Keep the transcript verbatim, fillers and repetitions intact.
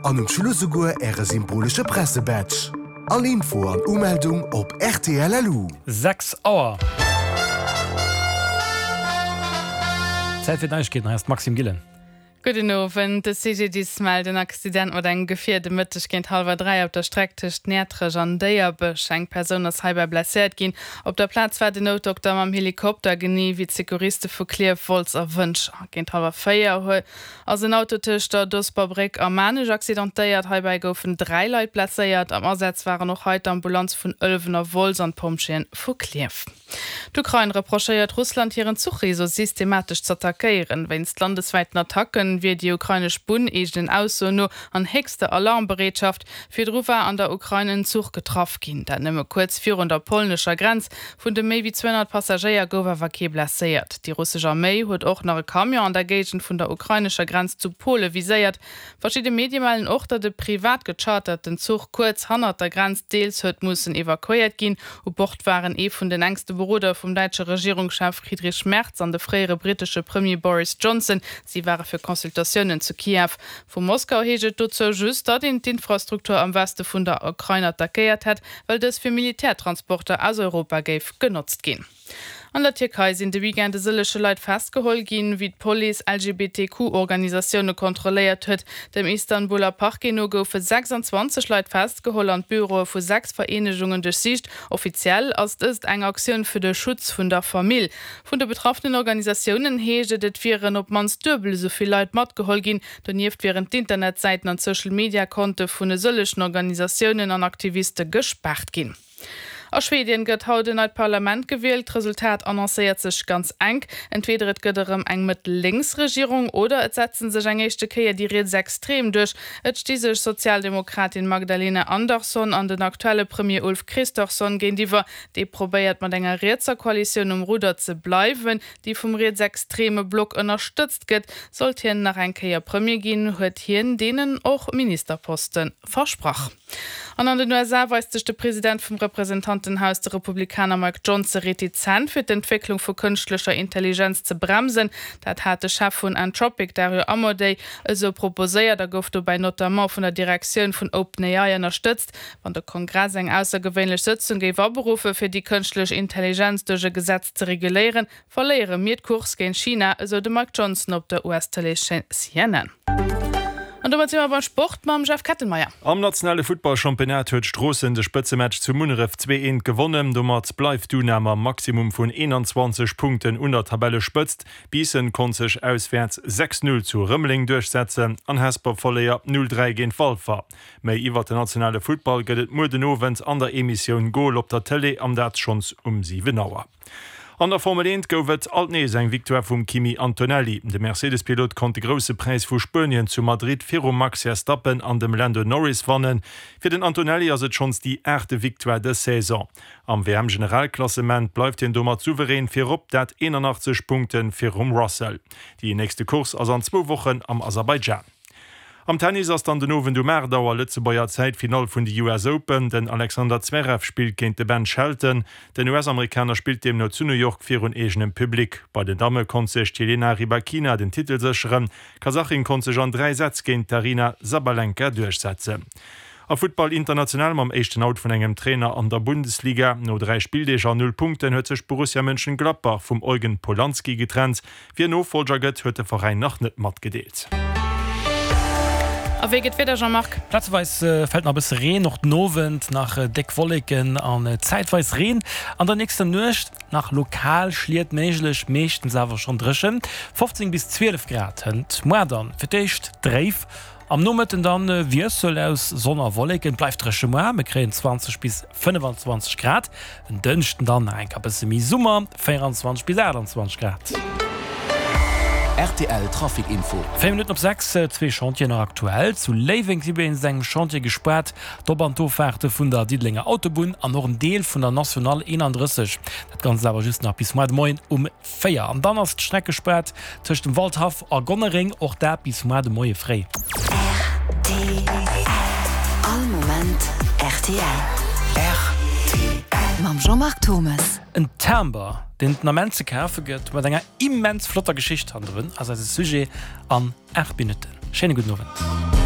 An um Schluss esouguer äre symbolesche Pressebadge. All Info an Umeldung op rtl. Lu. Sechs Auer. Zäit fir d'Neiegkeeten, hei ass d'Maxime Gillen. Gudden Owend. De C G D I S mellt en Accident mat engem Gefier de Mëtteg géint hallwer dräi op der Streck tëscht Näertrech an Déierbech. Eng Persoun ass heibäi blesséiert ginn. Op der Plaz war den Noutdokter mam Helikopter, genee wéi d'Secouriste vu Klierf, Wolz a Wëntger. Géint hallwer véier ass en Auto tëscht der Dosber Bréck a Maarnech accidentéiert. Heibäi goufen dräi Leit blesséiert. Am Asaz waren och hei d'Ambulanz vun Ëlwen a Wolz an d'Pompjeeën vu Klierf. D'Ukrain reprochéiert Russland, hiren Zuchreseau systematesch z'attackéieren. Wéinst landeswäiten Attacken wier déi ukrainesch Bunn eegenen Aussoen no an héchster Alarmbereetschaft. Virdru war an der Ukrain en Zuch getraff ginn, dat nëmme kuerz virun der polnescher Grenz. Vun de méi wéi zweehonnert Passagéier gouf awer kee blesséiert. Déi russesch Arméi huet och nach e Camion an der Géigend vun der ukrainescher Grenz zu Pole viséiert. Verschidde Medie mellen och, datt e privat gecharterten Zuch kuerz hannert der Grenz deels huet mussen evakuéiert ginn. U Bord waren ee vun den enkste Beroder vum däitsche Regierungschef Friedrich Merz an de fréiere brittesche Premier Boris Johnson. Si ware fir Consultatiounen zu Kiew. Vu Moskau heescht et dozou just, datt een d'Infrastruktur am Weste vun der Ukrain attackéiert hätt, well dës fir Militärtransporter aus Europa géif genotzt ginn. An der Tierkei sinn de Weekend e sëllege Leit festgeholl ginn, wéi d'Police L G B T Q-Organisatioune kontrolléiert huet. Dem Istanbuler Parquet no goufe sechsanzwanzeg Leit festgeholl an d'Büroe vu sechs Vereenegungen duerchsicht. Offiziell ass dëst eng Aktioun fir de Schutz vun der Famill. Vun de betraffenen Organisatiounen heescht et, et wieren op d'mannst duebel esou vill Leit matgeholl ginn. Donieft wieren d'Internetsäiten an d'Social-Media-Konte vun e sëllegen Organisatiounen an Aktiviste gespaart ginn. A Schweden gëtt haut en neit Parlament gewielt. D'Resultat annoncéiert sech ganz enk. Entweder et gëtt erëm eng Mëtt-Lénks-Regierung oder et setze sech eng éischte Kéier déi Rietsextrem duerch. Et sti sech Sozialdemokratin Magdalena Andersson an den aktuelle Premier Ulf Kristersson géintiwwer. Dee probéiert mat enger rietser Koalitioun um Rudder ze bleiwen, déi vum rietsextreme Block ënnerstëtzt gëtt. Sollt hien nach eng Kéier Premier ginn, huet hien deenen och Ministerposte versprach. An an den U S A weist sech de President vum Representantenhaus, de Republikaner Mike Johnson, retizent fir d'Entwécklung vu kënschtlecher Intelligenz ze bremsen. Dat hat de Chef vun Anthropic, Dario Amodei, esou proposéiert a gouf dobäi notamment vun der Direktioun vun OpenAI ënnerstëtzt. Wann de Kongress eng aussergewéinlech Sëtzung géif aberuffe fir déi kënschtlech Intelligenz duerch e Gesetz ze reguléieren, verléiere mir d'Course géint China, esou de Mike Johnson op der U S-Tëleeschaîne C N N. An domat si mer beim Sport mam Jeff Kettenmeyer. Am nationale Futtballchampionnat huet Stroossen de Spëtzematch zu Munneref zwee eent gewonnen. Domat bleift d'UNA mam Maximum vun eenanzwanzeg Punkten un der Tabellespëtzt. Biissen konnt sech auswäerts sechs null zu Rëmeleng duerchsetzen an Hesper verléiert null dräi géint Walfer. Méi iwwer den nationale Futtball gëtt et muer den Owend an der Emissioun Goal op der Tëlee, an dat schonns um siwen Auer. An der Formel eent gouf et alt nees eng Victoire vum Kimi Antonelli. De Mercedes-Pilot konnt de Grousse Präis vu Spuenien zu Madrid virum Max Verstappen an dem Lando Norris wannen. Fir den Antonelli ass et schonns déi aachte Victoire dës Saison. Am W M-Generalklassement bleift hien domat souverän virop, dat eenanachtzeg Punkte virum Russell. Déi nächste Course ass an zwou Wochen am Aserbaidschan. Am Tennis ass dann den Owend um aacht Auer Lëtzebuerger Zäit Finall vun de U S Open. Den Alexander Zverev spillt géint de Ben Shelton. Den U S-Amerikaner spillt deemno zu New York virun eegenem Public. Bei den Damme konnt sech d'Jelena Rybakina den Titel sécheren. D'Kasachin konnt sech an dräi Sätz géint d'Aryna Sabalenka duerchsetzen. A Futtball international mam éischten Out vun engem Trainer an der Bundesliga. No dräi Spilldeeg an null Punkten huet sech Borussia Mönchengladbach vum Eugen Polanski getrennt. Wien Nofollger gëtt, huet de Veräin nach net matgedeelt. A wéi geet d'Wieder, Jean-Marc? Plazeweis fält nach e bësse Reen, och den Owend nach déck Wolleken an zäitweis Reen. An der nächster Nuecht nach lokal Schliet méiglech, meeschtens awer schonn dréchen. fofzéng bis zwielef Grad hënt. Muer dann fir d'éischt dréif, am Nomëtten dann Wiessel aus Sonn a Wolleken. Et bleift dréche muer, mir kréien zwanzeg bis fënnefenzwanzeg Grad. En Dënschden dann nach eng Kéier bësse méi Summer, véieranzwanzeg bis aachtanzwanzeg Grad. R T L Trafic Info. Véier Minutten op sechs, zwee Chantieren nach aktuell. Zu Léiweng si wéinst engem Chantier gespaart d'Op an d'Offaarte vun der Diddelenger Autobunn an och en Deel vun der Nationale eenandrësseg. Dat Ganzt awer just nach bis muer de Moien um véier. An dann ass d'Streck gespaart tëscht dem Waldhaff a Gonnereng, och dat bis muer de Moie fréi. R T L. All Moment R T L. R T L. Mam Jean-Marc Thomes. En Timber, deen et den Ament ze kafe gëtt, mat enger immens flotter Geschicht hannendrun, ass eise Sujet an aacht Minutten. Schéine gudden Owend.